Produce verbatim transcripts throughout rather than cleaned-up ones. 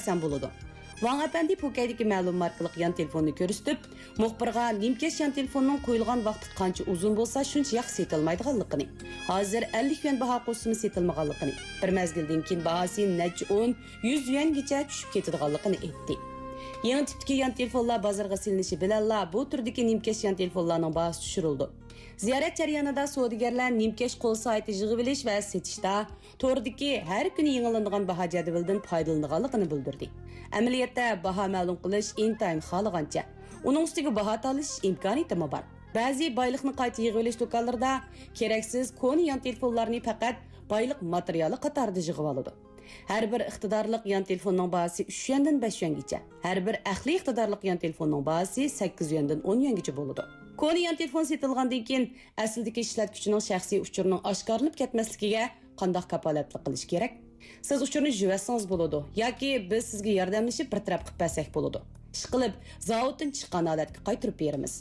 تەڭ بولىدۇ. ۋاڭ ئەپەندى پوكەيدىكى مەلۇم ماركىلىق يان تېلېفوننى كۆرسىتىپ، مۇخبىرغا نىمكەش يان تېلېفوننىڭ قويۇلغان ۋاقتى قانچە ئۇزۇن بولسا، شۇنچە ياخشى سېتىلمايدىغانلىقىنى، ھازىر ئەللىك يۈەن باھا قوشسىمۇ سېتىلمىغانلىقىنى، بىر مەزگىلدىن كېيىن باھاسى نەچچە ئون، يۈز يۈەنگىچە چۈشۈپ كېتىدىغانلىقىنى ئېيتتى. يېڭى تىپتىكى يان تېلېفونلار بازارغا سېلىنىشى بىلەنلا، بۇ تۈردىكى نىمكەش يان تېلېفونلارنىڭ باھاسى چۈشۈرۈلىدۇ. زىيارەت جەريانىدا سودىگەرلەر نىمكەش قول سائىتى يىغىۋېلىش ۋە سېتىشتا توردىكى ھەر كۈنى يېڭىلىنىدىغان باھا جەدۋىلىدىن پايدىلىنىدىغانلىقىنى بىلدۈردى. ئەمەلىيەتتە باھا مەلۇم قىلىش ئىنتايىن خالىغانچە، ئۇنىڭ ئۈستىگە باھا تالىشىش ئىمكانىيىتىمۇ بار. بەزى بايلىقنى قايتا يىغىۋېلىش دۇكانلىرىدا كېرەكسىز كونا يان تېلېفونلارنى پەقەت بايلىق ماتېرىيالى قاتارىدا يىغىۋالىدۇ. ھەر بىر ئىقتىدارلىق يان تېلېفوننىڭ باھاسى ئۈچ يۈەندىن بەش يۈەنگىچە، ھەر بىر ئەقلىي ئىقتىدارلىق يان تېلېفوننىڭ باھاسى سەككىز يۈەندىن ئون يۈەنگىچە بولىدۇ. كونا يان تېلېفون سېتىلغاندىن كېيىن، ئەسلىدىكى ئىشلەتكۈچىنىڭ شەخسىي ئۇچۇرىنىڭ ئاشكارىلىنىپ كەتمەسلىكىگە قانداق كاپالەتلىك قىلىش كېرەك؟ سىز ئۇچۇرنى يۇيۇۋەتسىڭىز بولىدۇ ياكى بىز سىزگە ياردەملىشىپ بىر تەرەپ قىلىپ بەرسەك بولىدۇ. ئىشقىلىپ، زاۋۇتتىن چىققان ھالەتكە قايتۇرۇپ بېرىمىز.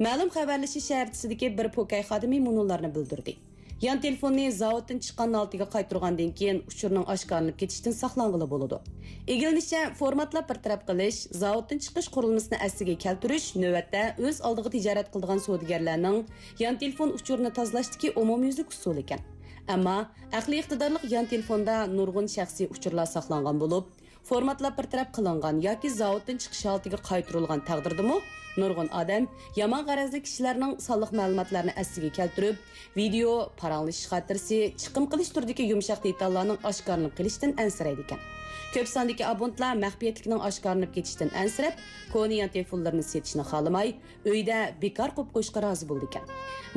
مەلۇم خەۋەرلىشىش شەھەرچىسىدىكى بىر پوكەي خادىمى مۇنۇلارنى بىلدۈردى. يان تېلېفوننى زاۋۇتتىن چىققان ھالىتىگە قايتۇرغاندىن كېيىن، ئۇچۇرنىڭ ئاشكارىلىنىپ كېتىشتىن ساقلانغىلى بولىدۇ. ئىگىلىنىشىچە، فورماتلاپ بىر تەرەپ قىلىش، زاۋۇتتىن چىقىش قۇرۇلمىسىنى ئەسلىگە كەلتۈرۈش نۆۋەتتە ئۆز ئالدىغا تىجارەت قىلىدىغان سودىگەرلەرنىڭ يان تېلېفون ئۇچۇرىنى تازىلاشتىكى ئومۇميۈزلۈك ئۇسۇلى ئىكەن. ئەمما ئەقلىي ئىقتىدارلىق يان تېلېفوندا نۇرغۇن شەخسىي ئۇچۇرلار ساقلانغان بولۇپ، فورماتلاپ بىر تەرەپ قىلىنغان ياكى زاۋۇتتىن چىقىش ھالىتىگە قايتۇرۇلغان تەقدىردىمۇ، نۇرغۇن ئادەم يامان غەرەزلىك كىشىلەرنىڭ سانلىق مەلۇماتلارنى ئەسلىگە كەلتۈرۈپ، ۋىدېئو، پاراڭلىشىش خاتىرىسى، چىقىم قىلىش تۈرىدىكى يۇمشاق دېتاللارنىڭ ئاشكارىلىنىپ قېلىشىدىن ئەنسىرەيدىكەن. كۆپ ساندىكى ئابونتلار مەخپىيەتلىكنىڭ ئاشكارىلىنىپ كېتىشىدىن ئەنسىرەپ، كونا يان تېلېفونلىرىنى سېتىشنى خالىماي، ئۆيدە بىكار قويۇپ قويۇشقا رازى بولىدىكەن.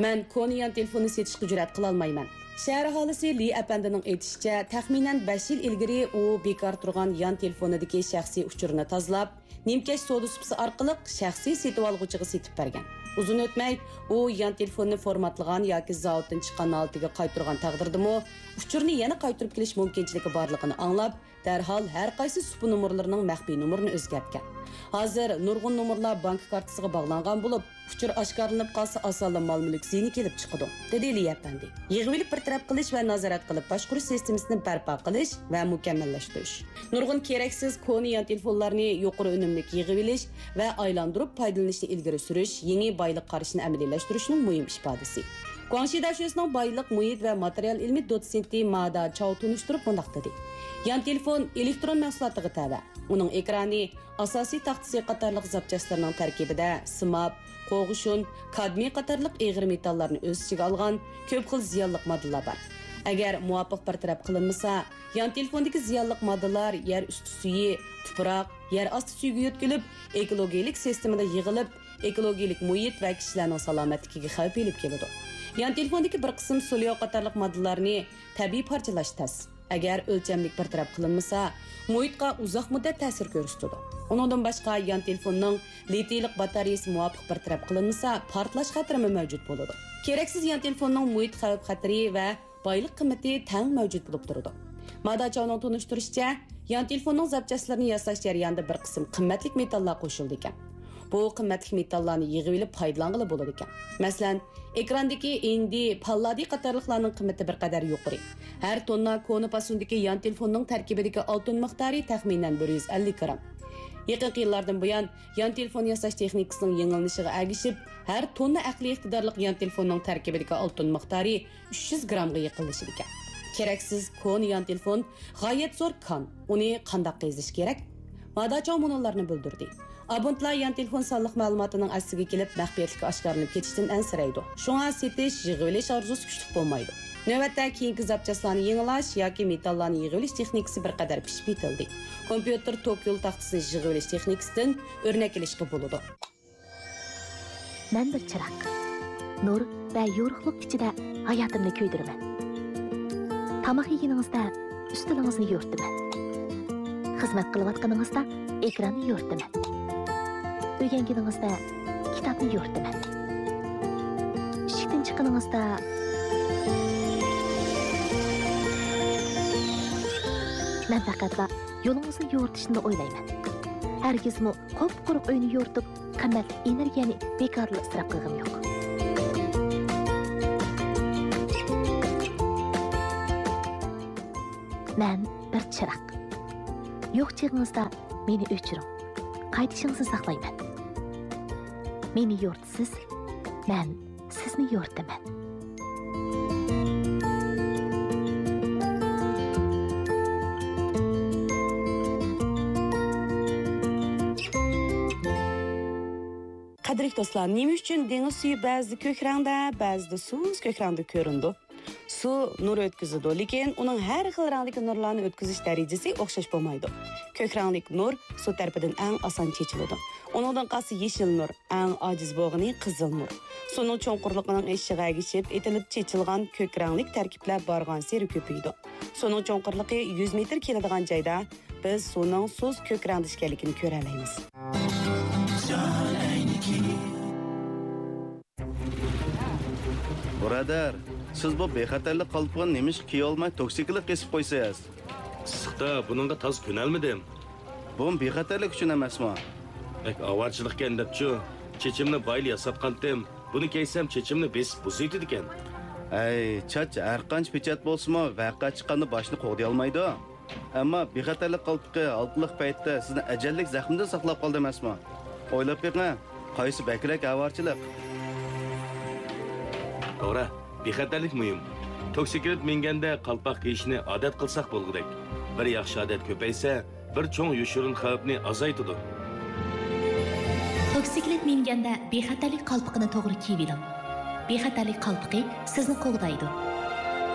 مەن كونا يان تېلېفوننى سېتىشقا جۈرئەت قىلالمايمەن. شەھەر ئاھالىسى لى ئەپەندىنىڭ ئېيتىشىچە، تەخمىنەن بەش يىل ئىلگىرى ئۇ بىكار تۇرغان يان تېلېفونىدىكى شەخسىي ئۇچۇرىنى تازىلاپ، نىمكەش سودا سۇپىسى ئارقىلىق شەخسىي سېتىۋالغۇچىغا سېتىپ بەرگەن. ئۇزۇن ئۆتمەي، ئۇ يان تېلېفوننى فورماتلىغان ياكى زاۋۇتتىن چىققان ھالىتىگە قايتۇرغان تەقدىردىمۇ، ئۇچۇرنى يەنە قايتۇرۇپ كېلىش مۇمكىنچىلىكى بارلىقىنى ئاڭلاپ، دەرھال ھەر قايسى سۇپا نومۇرلىرىنىڭ مەخپىي نومۇرىنى ئۆزگەرتكەن. ھازىر نۇرغۇن نومۇرلار بانكا كارتىسىغا باغلانغان بولۇپ، ئۇچۇر ئاشكارىلىنىپ قالسا، ئاسانلا مال-مۈلۈك زىيىنى كېلىپ چىقىدۇ، دېدى لى ئەپەندى. يىغىۋېلىپ بىر تەرەپ قىلىش ۋە نازارەت قىلىپ باشقۇرۇش سىستېمىسىنى بەرپا قىلىش ۋە مۇكەممەللەشتۈرۈش. نۇرغۇن كېرەكسىز كونا يان تېلېفونلارنى يۇقىرى ئۈنۈملۈك يىغىۋېلىش ۋە ئايلاندۇرۇپ پايدىلىنىشنى ئىلگىرى سۈرۈش يېڭى بايلىق قارىشىنى ئەمەلىيلەشتۈرۈشنىڭ مۇھىم ئىپادىسى. گۇاڭشى داشۆسىنىڭ بايلىق، مۇھىت ۋە ماتېرىيال ئىلمى دوتسېنتى مادا چاۋ تونۇشتۇرۇپ مۇنداق دېدى: يان تېلېفون ئېلېكترون مەھسۇلاتىغا تەۋە. ئۇنىڭ ئېكرانى، ئاساسىي تاختىسى قاتارلىق زاپچاسلىرىنىڭ تەركىبىدە سىماب، قوغۇشۇن، كادمىي قاتارلىق ئېغىر مېتاللارنى ئۆز ئىچىگە ئالغان كۆپ خىل زىيانلىق ماددىلار بار. ئەگەر مۇۋاپىق بىر تەرەپ قىلىنمىسا، يان تېلېفوندىكى زىيانلىق ماددىلار يەر ئۈستى سۈيى، تۇپراق، يەر ئاستى سۈيىگە يۆتكىلىپ، ئېكولوگىيىلىك سىستېمىدا يىغىلىپ، ئېكولوگىيىلىك مۇھىت ۋە كىشىلەرنىڭ سالامەتلىكىگە خەۋپ ئېلىپ كېلىدۇ. يان تېلېفوندىكى بىر قىسىم سولياۋ قاتارلىق ماددىلارنى تەبىئىي پارچىلاش تەس. ئەگەر ئۆلچەملىك بىر تەرەپ قىلىنمىسا، مۇھىتقا ئۇزاق مۇددەت تەسىر كۆرسىتىدۇ. ئۇنىڭدىن باشقا، يان تېلېفوننىڭ لىتىيلىق باتارېيىسى مۇۋاپىق بىر تەرەپ قىلىنمىسا، پارتلاش خەتىرىمۇ مەۋجۇت بولىدۇ. كېرەكسىز يان تېلېفوننىڭ مۇھىت خەۋپ خەتىرى ۋە بايلىق قىممىتى تەڭ مەۋجۇت بولۇپ تۇرىدۇ. مادا چاۋنىڭ تونۇشتۇرۇشىچە، يان تېلېفوننىڭ زاپچاسلىرىنى ياساش جەريانىدا بىر قىسىم قىممەتلىك مېتاللار قوشۇلىدىكەن. بۇ قىممەتلىك مېتاللارنى يىغىۋېلىپ پايدىلانغىلى بولىدىكەن. مەسىلەن، ئېكراندىكى ئىندى، پاللادىي قاتارلىقلارنىڭ قىممىتى بىر قەدەر يۇقىرى. ھەر توننا كونا پاسوندىكى يان تېلېفوننىڭ تەركىبىدىكى ئالتۇن مىقدارى تەخمىنەن بىر يۈز ئەللىك گرام. يېقىنقى يىللاردىن بۇيان، يان تېلېفون ياساش تېخنىكىسىنىڭ يېڭىلىنىشىغا ئەگىشىپ، ھەر توننا ئەقلىي ئىقتىدارلىق يان تېلېفوننىڭ تەركىبىدىكى ئالتۇن مىقدارى ئۈچ يۈز گرامغا يېقىنلىشىدىكەن. كېرەكسىز كونا يان تېلېفون غايەت زور كان. ئۇنى قانداق قېزىش كېرەك؟ مادا چاۋ مۇنۇلارنى بىلدۈردى: ئابونتلار يان تېلېفون سانلىق مەلۇماتىنىڭ ئەسلىگە كېلىپ، مەخپىيەتلىكى ئاشكارىلىنىپ كېتىشىدىن ئەنسىرەيدۇ. شۇڭا سېتىش، يىغىۋېلىش ئارزۇسى كۈچلۈك بولمايدۇ. نۆۋەتتە كېيىنكى زاپچاسلارنى يېڭىلاش ياكى مېتاللارنى يېغىۋېلىش تېخنىكىسى بىر قەدەر پىشىپ يېتىلدى. كومپيۇتېر توك يول تاختىسىنى يىغىۋېلىش تېخنىكىسىدىن ئۆرنەك ئېلىشقا بولىدۇ. مەن بىر چىراغ. نۇر ۋە يورۇقلۇق ئىچىدە ھاياتىمنى كۆيدۈرىمەن. تاماق يېگىنىڭىزدە ئۈستىلىڭىزنى يورۇتىمەن. خىزمەت قىلىۋاتقىنىڭىزدا ئېكراننى يورۇتىمەن. ئۆگەنگىنىڭىزدە كىتابنى يورۇتىمەن. ئىشىكتىن چىققىنىڭىزدا مەن پەقەتلا يولىڭىزنى يورۇتۇشنىلا ئويلايمەن. ھەرگىزمۇ قۇپقۇرۇق ئۆينى يورۇتۇپ، قىممەتلىك ئېنېرگىيەنى بىكارلا ئىسراپ قىلغىنىم يوق. مەن بىر چىراغ. يوق چېغىڭىزدا مېنى ئۆچۈرۈڭ. قايتىشىڭىزنى ساقلايمەن. مېنى يورۇتىسىز، مەن سىزنى يورۇتىمەن. قەدىرلىك دوستلار، نېمە ئۈچۈن دېڭىز سۈيى بەزىدە كۆك رەڭدە، بەزىدە سۇس كۆك رەڭدە كۆرۈنىدۇ؟ سۇ نۇر ئۆتكۈزىدۇ، لېكىن ئۇنىڭ ھەر خىل رەڭدىكى نۇرلارنى ئۆتكۈزۈش دەرىجىسى ئوخشاش بولمايدۇ. كۆك رەڭلىك نۇر سۇ تەرىپىدىن ئەڭ ئاسان چېچىلىدۇ. ئۇنىڭدىن قالسا يېشىل نۇر، ئەڭ ئاجىز بولغىنى قىزىل نۇر. سۇنىڭ چوڭقۇرلۇقىنىڭ ئېشىشىغا ئەگىشىپ ئېتىلىپ چېچىلغان كۆك رەڭلىك تەركىبلەر بارغانسېرى كۆپىيىدۇ. سۇنىڭ چوڭقۇرلۇقى يۈز مېتىر كېلىدىغان جايدا بىز سۇنىڭ سۇس كۆك رەڭدە ئىكەنلىكىنى كۆرەلەيمىز. بۇرادەر، سىز بۇ بىخەتەرلىك قالپىقىنى نېمىشقا كىيەلمەي توكسىكلىق قېسىپ قويىسىز؟ ئىسسىقتا بۇنىڭغا تازا كۆنەلمىدىم. بۇمۇ بىخەتەرلىك ئۈچۈن ئەمەسمۇ؟ بەك ئاۋارىچىلىقكەن دەپچۇ، چېچىمنى بايىلا ياساتقانتىم. بۇنى كىيسەم چېچىمنى بېسىپ بۇزۇۋېتىدىكەن. ھەي، چاچ ھەرقانچە پېچەت بولسىمۇ، ۋەقە چىققاندا باشنى قوغدىيالمايدۇ. ئەمما بىخەتەرلىك قالپىقى ھالقىلىق پەيتتە سىزنى ئەجەللىك زەخمىدىن ساقلاپ قالدى ئەمەسمۇ؟ ئويلاپ بېقىڭ، قايسى بەكرەك ئاۋارىچىلىق؟ توغرا، بىخەتەرلىك مۇھىم. توكسىكلىت مىنگەندە قالپاق كىيىشنى ئادەت قىلساق بولغۇدەك. بىر ياخشى ئادەت كۆپەيسە، بىر چوڭ يوشۇرۇن خەۋپنى ئازايتىدۇ. توكسىكلىت مىنگەندە بىخەتەرلىك قالپىقىنى توغرا كىيىۋېلىڭ. بىخەتەرلىك قالپىقى سىزنى قوغدايدۇ.